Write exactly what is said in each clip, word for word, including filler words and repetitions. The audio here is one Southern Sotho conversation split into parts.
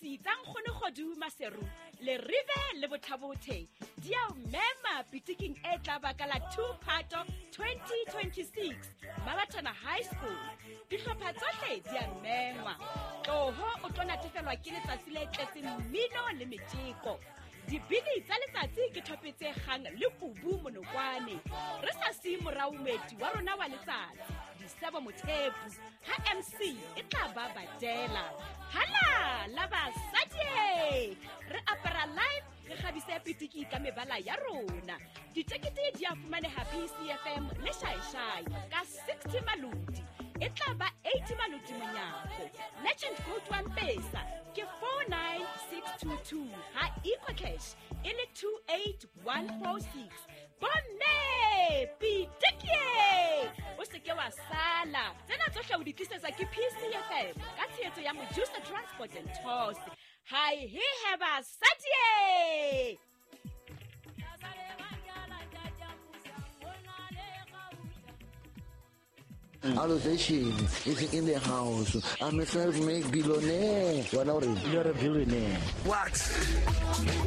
Dipolasi tsa Nkgono Kgodu Maseru le Rive le Bothabothe di a o mema pitiking e tla ba ka la two Phato twenty twenty-six Mabatana High School. Dihlopha tsohle di a mengwa. Tloho o tlo natefelwa ke letsatsi le tletseng mmino le metjeko. Dibini tsa letsatsi ke thope tse kgang le kubu monokwane. Re sa siye morao moeti wa rona wa letsatsi, Disebo Mothepu, ha M C e tla ba badela. Hala la basadi! Re apara live, re kgabise pitiki ka mebala ya rona. Ditekete di a fumaneha P C F M le Shaishai ka sixty malodi. E tla ba eighty malodi monyako. Legend code wa M-Pesa ke four nine six two two ha EcoCash e le two eight one four six. Bomme pitiki! O se ke wa sala. Tsena tsohle o di tlisetsa ke P C F M ka tshehetso ya Mojusa Transport and Tours. Hi he he basadi! Allocation is in the house. I'm a self-made billionaire. What are you? You're a billionaire. What?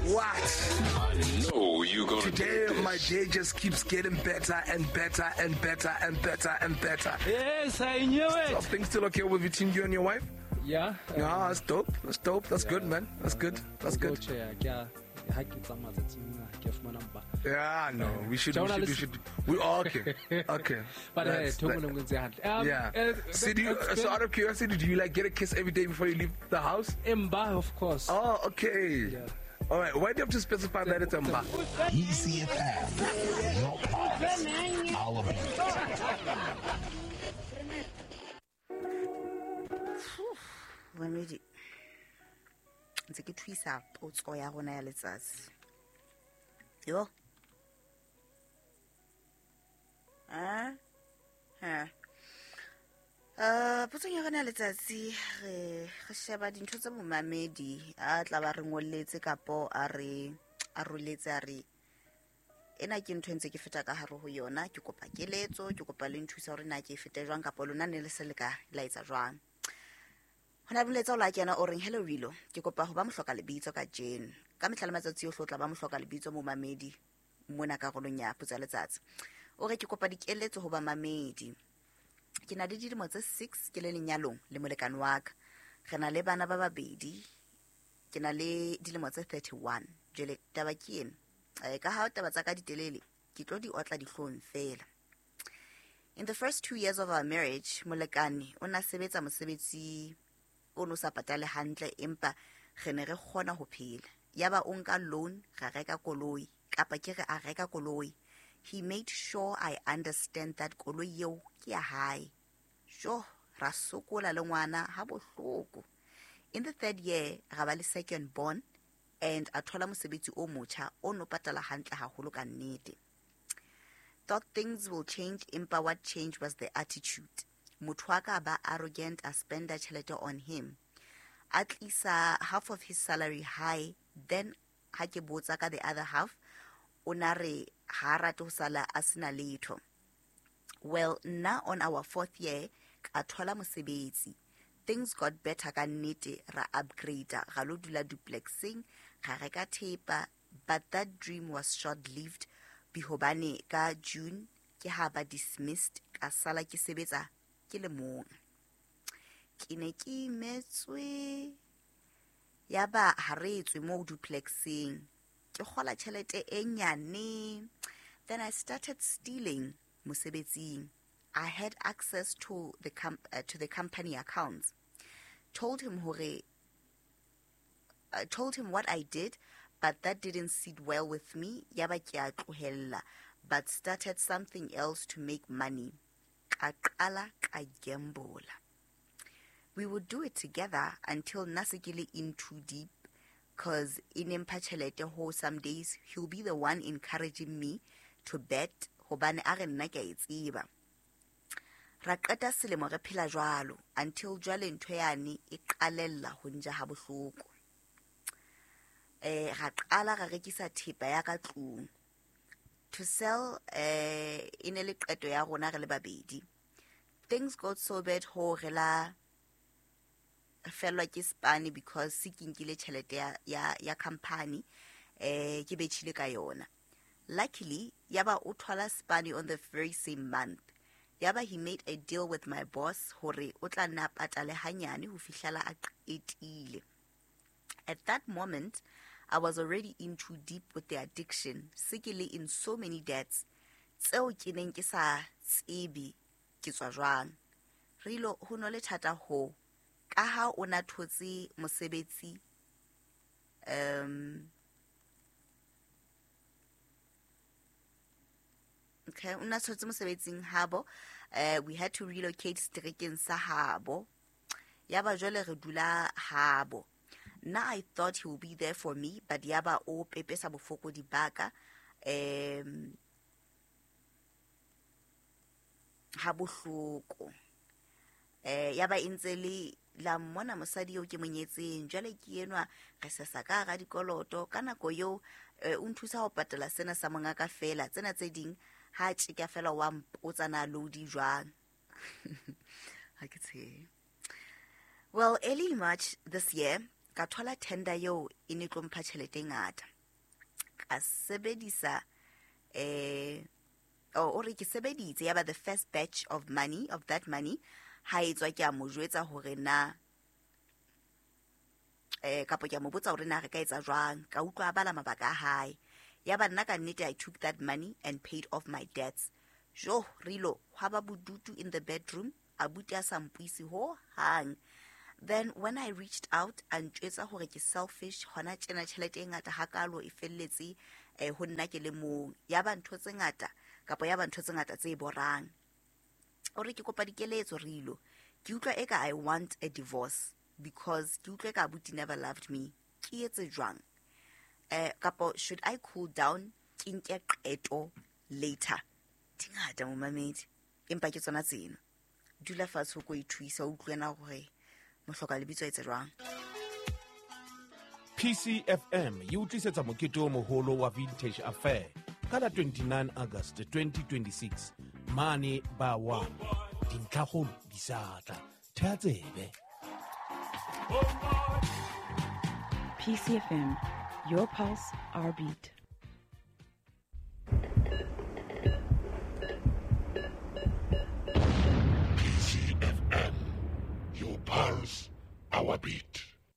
What? I know you gonna Today, do this. My day just keeps getting better and better and better and better and better. Yes, I knew it. So things still okay with between you and your wife? Yeah. Yeah, that's dope. That's dope. That's yeah. good, man. That's good. That's good. Yeah, no, we should, we should, we should, we okay, okay. But uh, um, yeah. Uh, so, do you, so out of curiosity, do you like get a kiss every day before you leave the house? Mba, of course. Oh, okay. Yeah. All right. Why do you have to specify that it's Mba? E C F M, your pulse, our beat. Mamedi, ntse ke thuisa potso ya rona ya letsatsi. Yo. Ah. Ha. Eh, potso ya rona ya letsatsi re re sheba dintho tsa momamedi a tla ba re ngolletse kapo a re a roletse a re ena ke ntho ntse ke feta ka hare ho yona, ke kopa keletso, ke kopa le nthusa hore na ke fete jwang kapo lona ne le se le ka la etsa jwang. Hona boletsa o la kena o reng hello Rilo, ke kopa ho ba mohloka lebitso ka Jane. Ka mehla le matsatsi ohle o tla ba mohloka lebitso momamedi mona karolong ya potso ya letsatsi. O re ke kopa dikeletso ho ba mamedi. Ke na le dilemo tse six ke le lenyalong le molekane wa ka. Re na le bana ba babedi. Ke na le dilemo tse thirty-one. Jwale taba ke ena. Eh, ka ha taba tsa ka ditelele, ke tlo di otla dihlong fela. In the first two years of our marriage, molekane o na sebetsa mosebetsi o no sa patale hantle empa re ne re kgona ho phela. Yaba o nka loan, ra reka koloi, kapa ke re a reka koloi. He made sure I understand that koloi eo ke ya hae. Sho, ra sokola le ngwana ha bohloko. In the third year, ra ba le second born and a thola mosebetsi o motjha o no patala hantle haholo ka nnete. Thought things will change, empa what changed was the attitude. Motho wa ka ba arrogant, a spenda tjhelete on him. A tlisa half of his salary high, then ha ke botsa ka the other half, o na re ha rate ho sala a sena letho. Well, nna on our fourth year, ka thola mosebetsi. Things got better ka nnete, ra upgrade, ra lo dula duplexing, ra reka thepa, but that dream was short-lived bihobane ka June ke ha ba dismissed, ka sala ke sebetsa ke le mong. Ke ne ke imetswe ya ba ha re tswe mo duplexing, ke kgola tjhelete e nyane. Then I started stealing mosebetsing. I had access to the com- uh, to the company accounts. Told him hore uh, told him what I did, but that didn't sit well with me. Ya ba ke a tlohella, but started something else to make money. Ka qala ka gambola. We would do it together until nna se ke le in too deep, cause in mpha tjhelete ho some days he'll be the one encouraging me to bet hobane a re nna ke a e tseba. Ra qeta selemo re phela jwalo until jwale ntho yane e qalella ho nja ha bohloko. Eh, ra qala ra rekisa thepa ya ka tlung. To sell eh e ne le qeto ya rona re le babedi. Things got so bad ho re la Fellwa ke spane because se ke nkile tjhelete ya ya ya company eh ke betjhile ka yona. Luckily yaba o thola spane on the very same month. Yaba he made a deal with my boss hore o tla nna patale hanyane ho fihlela a qetile. At that moment I was already in too deep with the addiction, se ke le in so many debts tseo ke neng ke sa tsebe ke tswa jwang. Rilo ho no le thata ho ka ha o na thotse mosebetsi um okay o na thotse mosebetsing habo uh, we had to relocate strekeng sa habo yaba jwale re dula habo. Now I thought he will be there for me, but yaba o pepesa bofokodi baka um ha bohloko eh yaba intse le la mmona mosadi yo ke monyetseng jwale ke enwa re sesa ka ga dikoloto ka nako yo o nthusa ho patala sena sa monga ka fela tsena tse ding ha tjeka fela wa mpotsa na load jwang. Ha ke tshe. Well, early March this year ka thola tender yo e ne tlo mpha tjhelete e ngata. Ka sebedisa eh o re ke sebeditse yaba the first batch of money of that money ha etswa ke a mo jwetsa hore na eh kapo ke a mo botsa hore na re ka etsa jwang ka utlwa a bala mabaka a hae yaba nna ka nnete I took that money and paid off my debts. Jo rilo hwa ba bodutu in the bedroom abuti a sa mpuisi ho hang. Then when I reached out and ntjwetsa hore ke selfish hona tjena tjhelete e ngata hakalo e felletse eh ho nna ke le mong yaba ntho tse ngata kapo yaba ntho tse ngata tse borang. O re ke kopa dikeletso rilo ke utlwa eka I want a divorce because ke utlwa eka abuti never loved me. Ke etse jwang eh kapo should I cool down ke nke qeto later? Dingata momamedi empa ke tsona tseno dula fatshe o ko ithuisa o utlwena hore mohloka lebitso etse jwang. P C F M e o tlisetsa mokete o moholo wa Vintage Affair ka la twenty-nine August twenty twenty-six mane ba one dintlhakgolo di sa tla thea tsebe. P C F M, your pulse, our beat. P C F M, your pulse, our beat.